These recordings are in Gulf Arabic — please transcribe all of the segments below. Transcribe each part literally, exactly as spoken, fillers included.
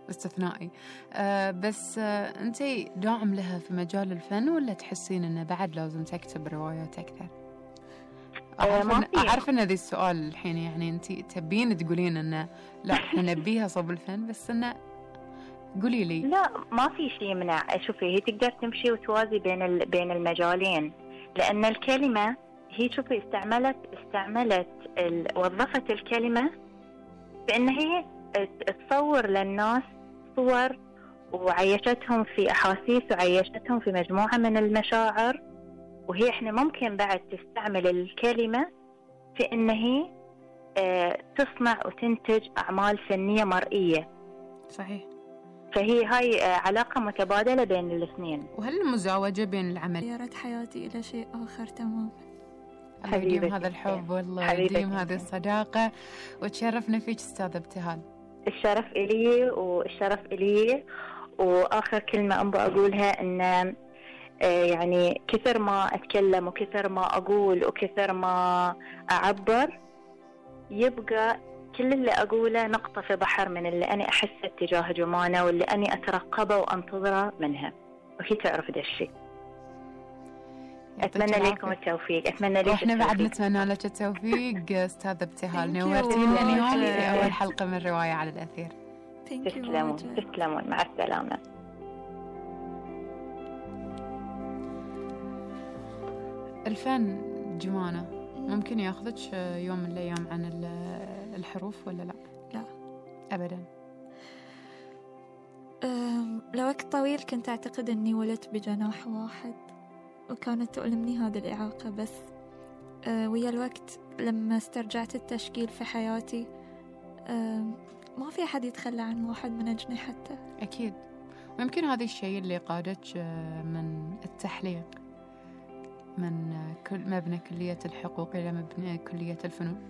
استثنائي. أه بس أه أنتي داعم لها في مجال الفن ولا تحسين أنه بعد لازم تكتب روايات أكثر؟ أعرف, أه إن أعرف أن هذا السؤال الحين يعني أنتي تبين تقولين أنه لا إحنا نبيها صوب الفن، بس أنه قولي لي. لا ما في شيء يمنع. شوفي هي تقدر تمشي وتوازي بين بين المجالين، لأن الكلمة هي شوفي استعملت استعملت ال... وظفت الكلمة بأن هي تصور للناس صور وعيشتهم في أحاسيس وعيشتهم في مجموعة من المشاعر، وهي إحنا ممكن بعد تستعمل الكلمة في أن هي اه تصنع وتنتج أعمال فنية مرئية. صحيح. فهي هاي علاقة متبادلة بين الاثنين. وهل المزاوجة بين العمل غيرت حياتي إلى شيء آخر تمام. الله يديم هذا الحب والله يديم هذه الصداقة، وتشرفنا فيك أستاذة ابتهال. الشرف إلي والشرف إلي. وآخر كلمة أبغى أقولها إن يعني كثر ما أتكلم وكثر ما أقول وكثر ما أعبر يبقى كل اللي أقوله نقطة في بحر من اللي أنا أحسه تجاه جمانة واللي أنا أترقبه وأنتظره منها، وهي تعرف ده الشيء. أتمنى لكم التوفيق. أتمنى لك وإحنا بعد نتمنى لك التوفيق أستاذة ابتهال، نورتينا اليوم في أول حلقة من رواية على الأثير. تسلمون تسلمون، مع السلامة. الفن جمانة ممكن ياخذك يوم من الأيام عن الحروف ولا لا؟ لا أبدا. لوقت طويل كنت أعتقد أني ولدت بجناح واحد وكانت تؤلمني هذه الإعاقة، بس ويا الوقت لما استرجعت التشكيل في حياتي ما في أحد يتخلى عن واحد من أجنحته. أكيد. ويمكن هذا الشيء اللي قادك من التحليق من كل مبنى كلية الحقوق إلى مبنى كلية الفنون.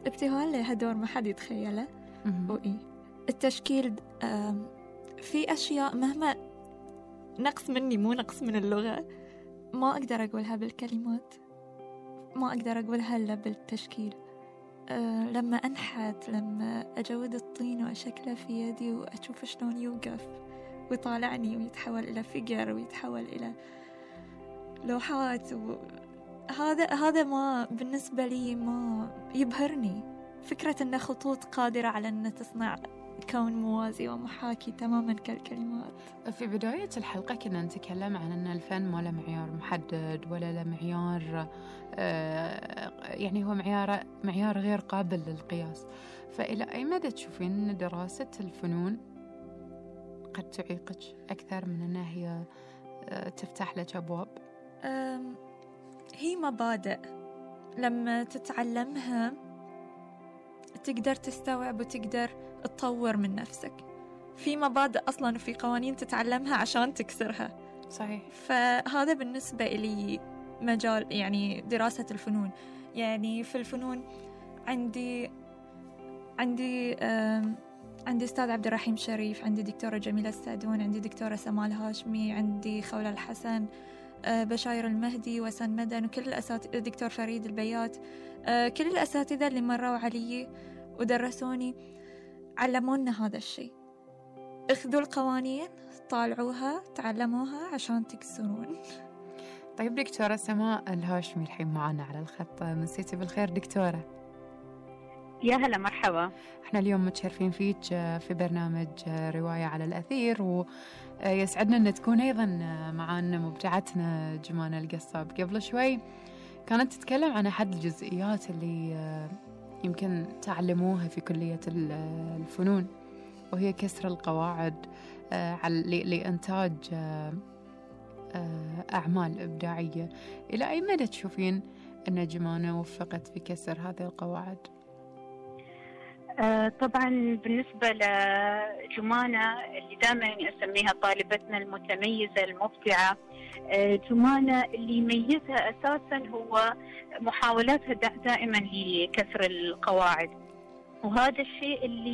ابتهال لها دور ما حد يتخيله. وإيه التشكيل في أشياء مهما نقص مني، مو نقص من اللغة، ما أقدر أقولها بالكلمات، ما أقدر أقولها إلا بالتشكيل. أه لما أنحت، لما أجود الطين وأشكله في يدي وأشوف شلون يوقف ويطالعني ويتحول إلى فيجر ويتحول إلى لوحات، هذا هذا ما بالنسبة لي ما يبهرني. فكرة أن خطوط قادرة على أن تصنع كون موازي ومحاكي تماما كالكلمات. في بداية الحلقة كنا نتكلم عن أن الفن ما له معيار محدد ولا له معيار، يعني هو معيار معيار غير قابل للقياس. فإلى أي مدى تشوفين أن دراسة الفنون قد تعيقك أكثر من أنها هي تفتح لك أبواب؟ هي مبادئ لما تتعلمها تقدر تستوعب وتقدر تطور من نفسك. في مبادئ أصلاً وفي قوانين تتعلمها عشان تكسرها. صحيح. فهذا بالنسبة لي مجال يعني دراسة الفنون. يعني في الفنون عندي عندي عندي أستاذ عبد الرحيم شريف، عندي دكتورة جميلة السعدون، عندي دكتورة سمال هاشمي، عندي خولة الحسن، بشاير المهدي، وسن مدن، وكل الأساتذة، دكتور فريد البيات، كل الأساتذة اللي مروا علي ودرسوني علمونا هذا الشيء. اخذوا القوانين، طالعوها، تعلموها عشان تكسرون. طيب دكتورة سماء الهاشمي الحين معنا على الخط، مسيتي بالخير دكتورة؟ يا هلا مرحبا. احنا اليوم متشرفين فيك في برنامج رواية على الأثير، ويسعدنا أن تكون أيضا معنا مبدعتنا جمانة القصاب. قبل شوي كانت تتكلم عن أحد الجزئيات اللي يمكن تعلموها في كلية الفنون، وهي كسر القواعد لإنتاج أعمال إبداعية. إلى أي مدى تشوفين أن جمانة وفقت في كسر هذه القواعد؟ آه طبعا بالنسبة لجمانة اللي دائما أسميها طالبتنا المتميزة المبدعة، آه جمانة اللي يميزها أساسا هو محاولاتها دائما لكسر القواعد، وهذا الشيء اللي